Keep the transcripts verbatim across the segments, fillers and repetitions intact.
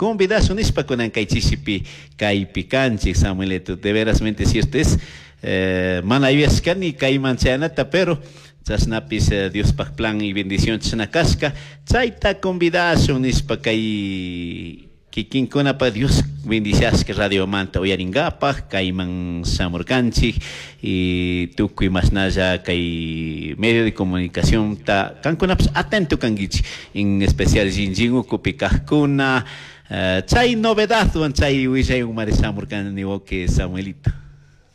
Convidashun nishpa kunan kay chishipi kaypi kanchik, Samuelito. De verasmente cierto es, eh, mana yuyashkani kayman chayanata, pero chashnapis eh, Diospaj plan y bendición chashna kashka. Chayta convidashun nishpa kay kikinkunapa Dios bendiciashka radiomanta uyaringapaj kayman shamurkanchik y tukuy mashnalla kay medio de comunicación ta kankunapish atento kankichik, en especial Shinshín ukupi kajkuna. uh, chay novedadwan chay willaywanmari shamurkani, wawqi Samuelito.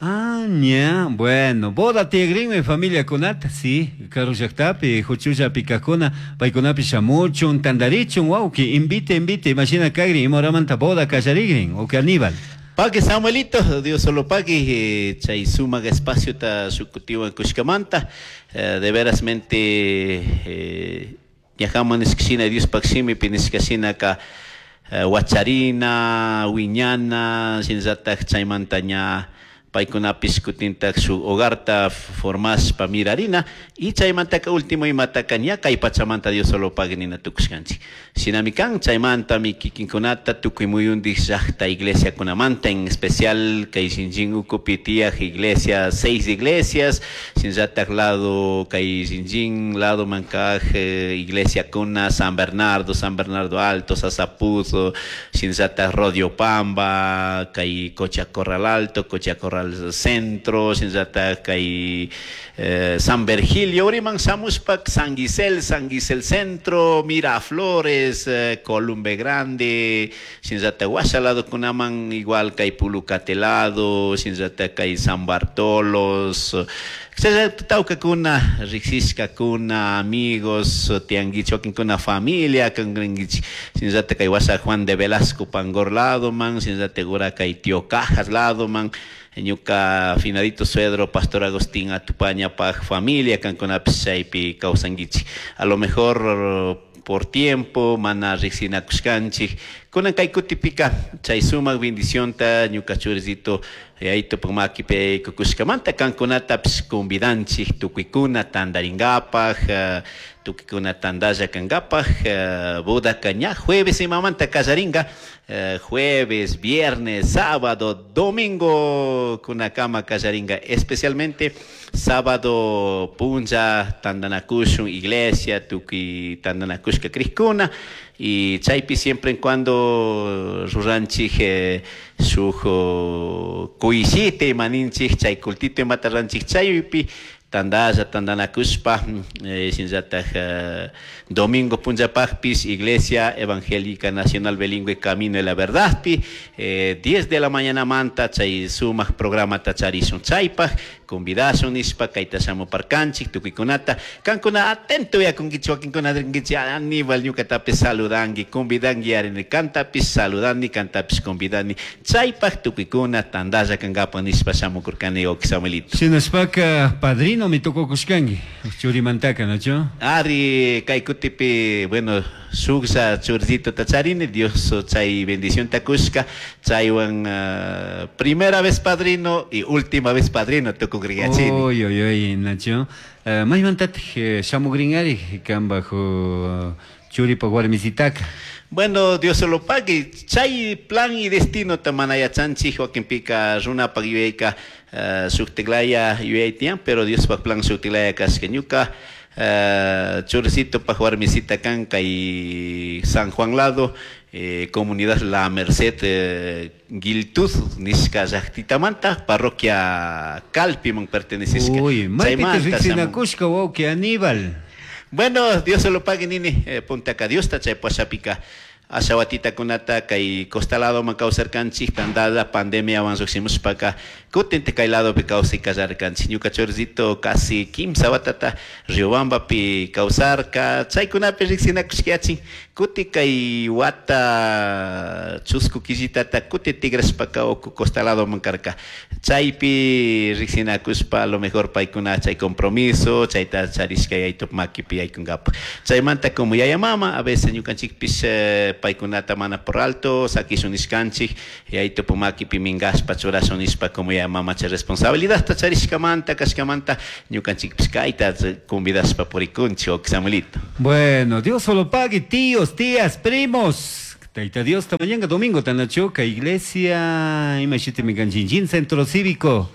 Ah, ña, bueno, boda tiyagrinmi familiakunata, sí, karu llaktapi, huchullapi kajkuna, paykunapi shamuchun, tantarichun, wawqi, invite, invite, imashina kagrin, ima horamanta boda kallarigrin, wawqi Aníbal. Pagui, Samuelito, Dios solo pagui, eh, chay sumak espaciota shukutiwan kushkamanta, eh, de verasmente eh, ñajaman nishkashina Diospaj shimipi nishkashinaka eh, wacharina, wiñana, shinallatak chaymanta ña paykunapish kutintak shuk hogarta formashpa mirarina y chaymantaka último imataka ña kay pachamanta Dios solo pagui nina tukushkanchik. Shinami kan chaymantami kikinkunata tukuy muyundik llakta iglesiakunamanta, en especial kay Shinshín ukupi tiyaj iglesia, seis iglesias, shinallatak lado kay Shinshín lado mankaj eh, iglesiakuna San Bernardo, San Bernardo Alto, Sasapuzo, shinallatak Rodiopamba, kay Cocha Corral Alto, Cocha Corral Centro, shinallatak kay eh, San Virgilio, uriman shamushpa San Gisel, San Gisel Centro, Miraflores, eh, Columbe Grande, shinallatak washa ladokunaman igual kay Pulucate lado, shinallatak kay San Bartolos, tawkakuna, riksishkakuna, amigos, tiyankichik, wakinkuna familia kankichik, shinallatak kay washa Juan de Velasco Pangor ladoman, shinallatak ura kay Tío Cajas ladoman, ñuka finadito suegro Pastor Agustín Atupañapaj familia kankunapish chaypi kawsankichik. A lo mejor por tiempo mana riksinakushkanchik. Kunan kay kutipika chay sumak bendicionta ñuka churisito yayitopak makipi kukushkamanta kankunatapish convidanchik tukuykuna tantaringapaj, uh, tukuykuna tantalla kankapaj, uh, bodaka ña jueves imamanta kallarinka, uh, jueves, viernes, sábado, domingo kunakama kallarinka, especialmente sábado punlla tantanakushun iglesia tukuy tantanakushka krikuna y chaypi siempre en cuando ruranchik eh, shuk kuyshita imaninchik chay cultito imata ranchik chaypi tantalla tantanakushpa eh, shinallatak eh, domingo punllapajpish Iglesia Evangélica Nacional Bilingüe Camino de la Verdadpi eh, diez de la mañana manta chay sumak programata charishun chaypaj convidashun nishpa kayta shamuparkanchik tukuykunata kankuna atento yakunkichik wakinkuna rinkichik Aníbal ñukatapish saludanki convidanki ari kantapish saludani kantapish convidani chaypaj tukuykuna tantalla kankapak nishpa shamukurkani wawqi Samuelito. Shinashpaka padrino mi tukukushkanki churimantaka, ¿nachu? Ari kay kutipi, bueno, shuklla churisitota charini, Dios chay bendición kushka, chaywan uh, primera vez padrino y última vez padrino tukukriyachini. Uy, uy, uy, Nacho. Uh, maymantatik shamugrinari kanpaj uh, churipak warmisitaka? Bueno, Dios se lo pague. Chay plan y destino ta mana yachanchik wakinpika runapak yuyayka uh, shuktiklaya yuyay tiyan, pero Diospaj plan shuktiklaya kashka ñuka uh, churisitopaj warmisita kan kay San Juan lado, eh, comunidad La Merced, eh, Guiltud nishka llaktitamanta, parroquia Calpiman pertenecishka. Uy, maypi riksinakushka wawqi Aníbal. Bueno, Dios se lo pague, nini. Eh, punta acá Dios ta chay pashapika ashawatitakunata kay costa ladoman kawsarkanchik tandada pandemia wan llukshimushpaka kutin kay ladopi kawsay kallarkanchik. Ñuka churisito casi kimsa watata Riobambapi kawsarka, chaykunapi riksinakushkayachin kuti kay wata chusku killitata kuti tigrashpaka uku costa ladoman karka. Chaypi riksinakushpa a lo mejor paykuna chay compromiso chayta charishka yaytup makipi yaykunkapaj. Chaymanta como yaya mama a veces ñukanchikpish eh, paykunata mana por alto sakishun nishkanchik yaytup makipi minkashpa churashun nishpa como yaya mama chay responsabilidad ta charishkamanta kashkamanta ñukanchikpish kayta convidashpa purikunchik, Samuelito. Bueno, Dios solo pague, tíos, tías, primos. Taita Dios, mañana domingo tanachuca, iglesia, imashitimi kan Chinchín, Centro Cívico.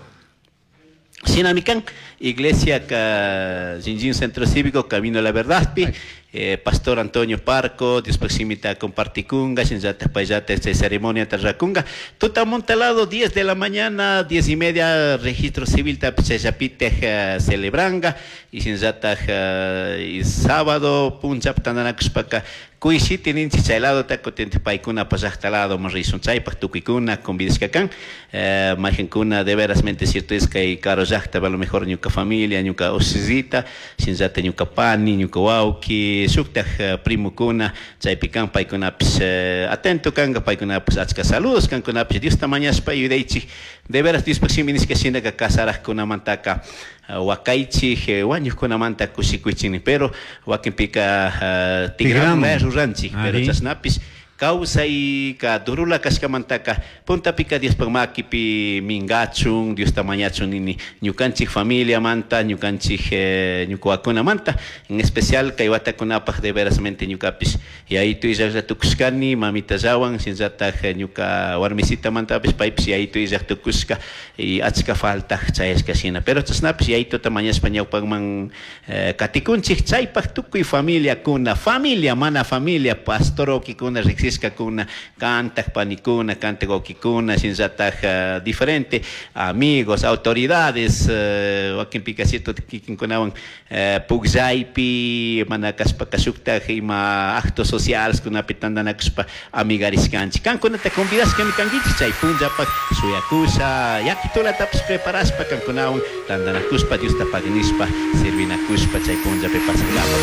Shinami kan, iglesia ka Chinchín Centro Cívico, Camino a la Verdad, pi, eh, Pastor Antonio Parco, Dios proximita comparticunga, shinllata payllata esta ceremonia tarracunga. Tutamontalado, diez de la mañana, diez y media, registro civil tapchayapite eh, celebranga, y shinllata eh, y sábado, punchap tandanakushpaka, kuishiti ninchi chay lado ta kutin paykuna pasajta lado marrishun chaypaj tukuykuna convidashkakan, eh, mayqankuna de verasmente cierto es que karu llaqta a lo mejor ñuka familia, ñuka usisita, shinllata ñuka pani, ñuka wawki, shuktaj eh, primukuna chaypi kan paykunapish eh, atento kanka paykunapish achka saludos kankunapish Diosta mañashpa yuyaychik de veras Diospaj shimi nishka shinaka casarajkunamantaka wakaychik eh, wañuqkunamanta kushikuychik pero wakinpika uh, tigramun ruranchik pero Ari. chashnapish kawsayka durula kashkamantaka puntapika Diospaj makipi mingachun Diosta mañachun nini ñukanchik familiamanta ñukanchik eh, ñukawakunamanta en especial kay watakunapaj de verasmente ñukapish yayitu illaklla tukushkani mamitallawan shinallataj eh, ñuka warmisitamantapish paypish yayitu illak tukushka y achka faltaj chayashka shina pero chashnapish yayituta mañashpa ñawpakman eh, katikunchik chaypaj tukuy familiakuna familia mana familia pastor wawkikuna riksishkakuna kantak panikuna kantak wawkikuna shinallataj eh, diferente amigos autoridades eh, wakinpika cierto kikinkunawan eh, pukllaypi mana kashpaka shuktaj ima actos sociales kunapi tantanakushpa amigarishkanchik kankunata convidashkami kankichik chay punllapaj shuyakusha yakitulatapish preparashpa kankunawan tantanakushpa Diosta pagnishpa servinakushpa chay punllapi pasankapak.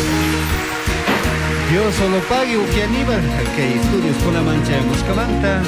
Dios solo pague, Uki Aníbal, kay estudios kunaman chayamushkamanta,